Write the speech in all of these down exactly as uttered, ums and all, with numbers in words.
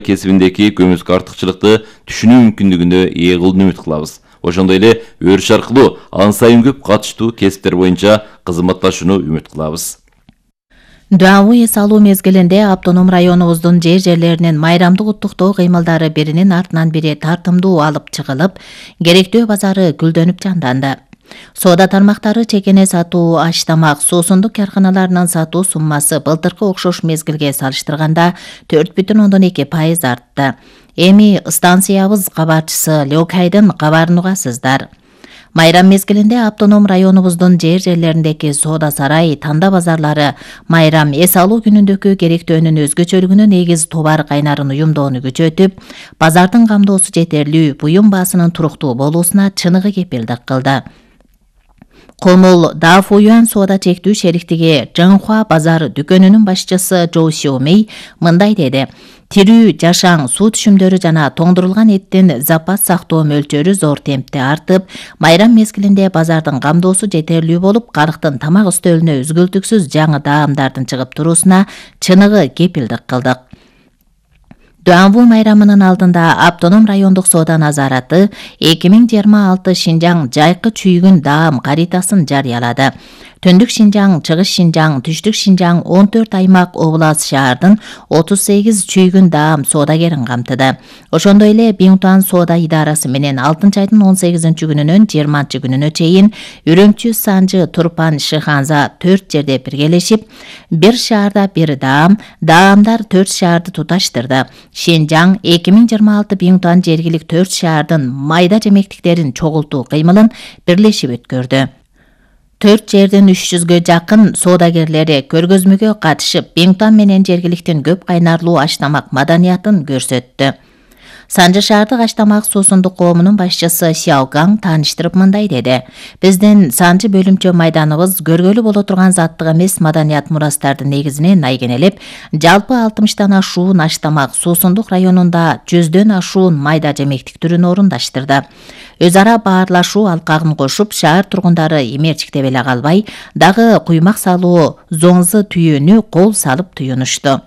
кесибиндеги көмүскө артыкчылыкты түшүнүү мүмкүндүгүнө ээ кылууну үмүт кылабыз. Ошондой эле өрүш аркылуу ан сайын көп катыштуу кесиптер боюнча кызматташууну үмүт кылабыз. Дуабы эс алуу мезгилинде автоном районубуздун жер жерлеринин майрамдык уттуктоо кыймылдары биринин артынан бири тартымдуу алып чыгылып, керектөө базары гүлдөнүп жанданды. Соода тармактары чекене сатуу, аш тамак, суусундук карканаларынын сатуу суммасы былтыркы окшош мезгилге салыштырганда төрт бүтүн ондон эки пайыз артты. Эми станциябыз кабарчысы Лёкайдын кабарын угасыздар. Майрам мезгилинде автоном районубуздун жер жерлериндеги соода сарай, танда базарлары майрам эс алуу күнүндөгү керектөөнүн өзгөчөлүгүнө негиз товар кайнарын уюмдоону күчөтүп, базардын камдоосу жетерлүү, буюм баасынын туруктуу болуусуна чыныгы кепилдик кылды. Комул Дафуюан соода чектүү шериктиги Жаңхуа базар дүкөнүнүн башчысы Жоу Сиомей мындай деди: Тирүү, жашаң, суу түшүмдөрү жана тоңдурулган эттин запас сактоо мөлчөрү зор темпте артып, майрам мезгилинде базардын камдоосу жетерлүү болуп, калктын тамак үстөлүнө үзгүлтүксүз жаңы даамдардын чыгып туруусуна чыныгы кепилдик кылдык. Дуанву майрамынын алдында автоном райондук соода назараты эки миң жыйырма алты Шинжаң жайкы чүйгүн даам каритасын жарыялады. Түндүк Шинжаң, Чыгыш Шинжаң, Түштүк Шинжаң он төрт аймак облас шаардын отуз сегиз чүйгүн даам соодагерин камтыды. Ошондой эле Биңтуан соода идарасы менен алтынчы айдын он сегизинчи күнүнөн жыйырманчы күнүнө чейин Үрөмчү, Санжы, Турпан, Шыханза төрт жерде биргелешип, бир шаарда бир даам, даамдар төрт шаарды туташтырды. Шинжаң эки миң жыйырма алты Биңтуан жергилик төрт шаардын майда жемектиктерин чогултуу кыймылын бирлешип өткөрдү. төрт жердин үч жүзгө жакын соодагерлери көргөзмөгө катышып, Биңтуан менен жергиликтин көп кайнарлуу аш тамак маданиятын көрсөттү. Санжы шаардык аш тамак суусундук коомунун башчысы Сяогаң тааныштырып мындай деди: Биздин Санжы бөлүмчө майданыбыз көргөлү боло турган заттык эмес маданият мурастардын негизине найгенелеп, жалпы алтымыштан ашуун аш тамак суусундук районунда жүздөн ашуун майда жемектик түрүн орундаштырды. Өз ара баарлашуу алкагын кошуп, шаар тургундары эмерчиктеп эле калбай, дагы куймак салуу зоңзы түйүүнү кол салып туюнушту.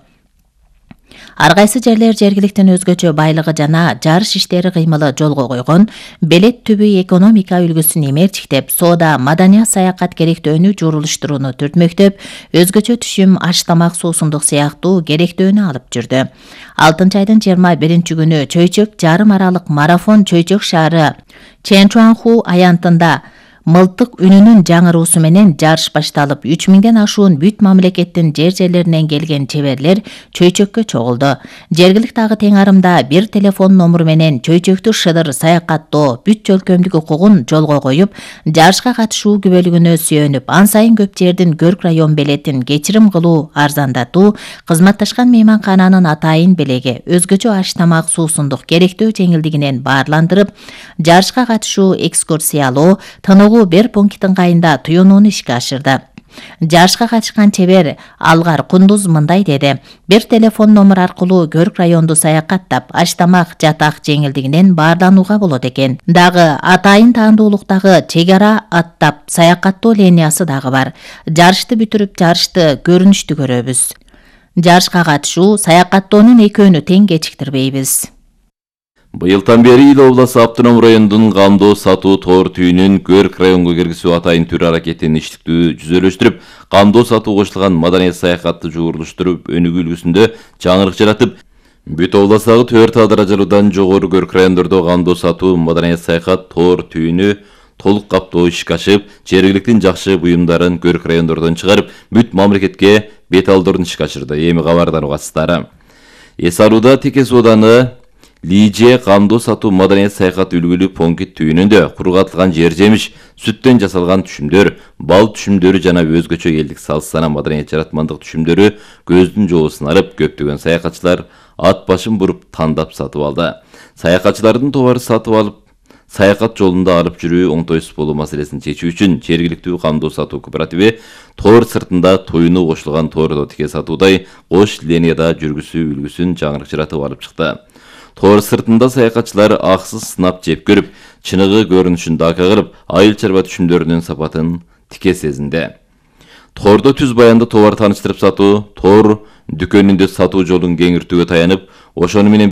Ар кайсы жерлер жергиликтин өзгөчө байлыгы жана жарыш иштери кыймылы жолго койгон, белет түбү экономика үлгүсүн эмерчиктеп, соода, маданият, саякат керектөөнү журулуштурууну түртмөктөп, өзгөчө түшүм, аш тамак, суусундук сыяктуу керектөөнү алып жүрдү. алтынчы айдын жыйырма биринчи күнү Чөйчөк жарым аралык марафон Чөйчөк шаары Чэнчуанху аянтында мылтык үнүнүн жаңыруусу менен жарыш башталып, үч миңден ашуун бүт мамлекеттин жер жерлеринен келген чеберлер Чөйчөккө чогулду. Жергилик дагы тең арымда бир телефон номуру менен Чөйчөктү шыдыр саякаттоо бүт жөлкөмдүк укугун жолго коюп, жарышка катышуу күбөлүгүнө сүйөнүп, ан сайын көп жердин көрк район белетин кечирим кылуу, арзандатуу, кызматташкан мейманкананын атайын белеги, өзгөчө аш тамак, суусундук керектөө жеңилдигинен баарландырып, жарышка катышуу, экскурсиялоо, тыныгуу бир пункттин кайында туюнууну ишке ашырды. Жарышка катышкан чебер Алгар Кундуз мындай деди: бир телефон номер аркылуу көрк районду саякаттап, аш тамак, жатак жеңилдигинен баарланууга болот экен. Дагы атайын таандуулуктагы чек ара аттап саякаттоо линиясы дагы бар. Жарышты бүтүрүп, жарышты көрүнүштүү көрөбүз. Жарышка катышуу, саякаттоонун экөөнү тең кечиктирбейбиз. Быйылдан бери Ил обласы автоном районунун камдоо сатуу тоор түйүнүн көрк районго киргизүү атайын түр аракетин иштиктүү жүзөлөштүрүп, камдоо сатуу кошулган маданият саякатты жуурулуштуруп, өнүгүү үлгүсүндө жаңырык жаратып, бүт областагы төрт даражалуудан жогору көрк райондордо камдоо сатуу маданият саякат тоор түйүнү толук каптоо ишке ашып, жергиликтин жакшы буюмдарын көрк райондордон чыгарып, бүт мамлекетке бет алдырууну ишке ашырды. Эми кабардан угасыздар. Эс алууда Теке сооданы Лиже камдоо сатуу маданият саякат үлгүлүү пункт түйүнүндө кургатылган жер жемиш, сүттөн жасалган түшүмдөр, бал түшүмдөрү жана өзгөчө элдик салсана маданият жаратмандык түшүмдөрү көздүн жоосун алып, көптөгөн саякатчылар ат башын буруп тандап сатып алды. Саякатчылардын тобары сатып алып, саякат жолунда алып жүрүү оңтойсуз болуу маселесин чечүү үчүн жергиликтүү камдоо сатуу кооперативи тоор сыртында тоюну кошулган тоордо тике сатуудай кош линияда жүргүзүү үлгүсүн жаңырык жаратып алып чыкты. Тоор сыртында саякатчылар аксыз сынап жеп көрүп, чыныгы көрүнүшүн дака кылып, айыл чарба түшүмдөрүнүн сапатын тике сезинди. Тоордо түз баянды товар тааныштырып сатуу, тоор дүкөнүндө сатуу жолун кеңиртүүгө таянып, ошону менен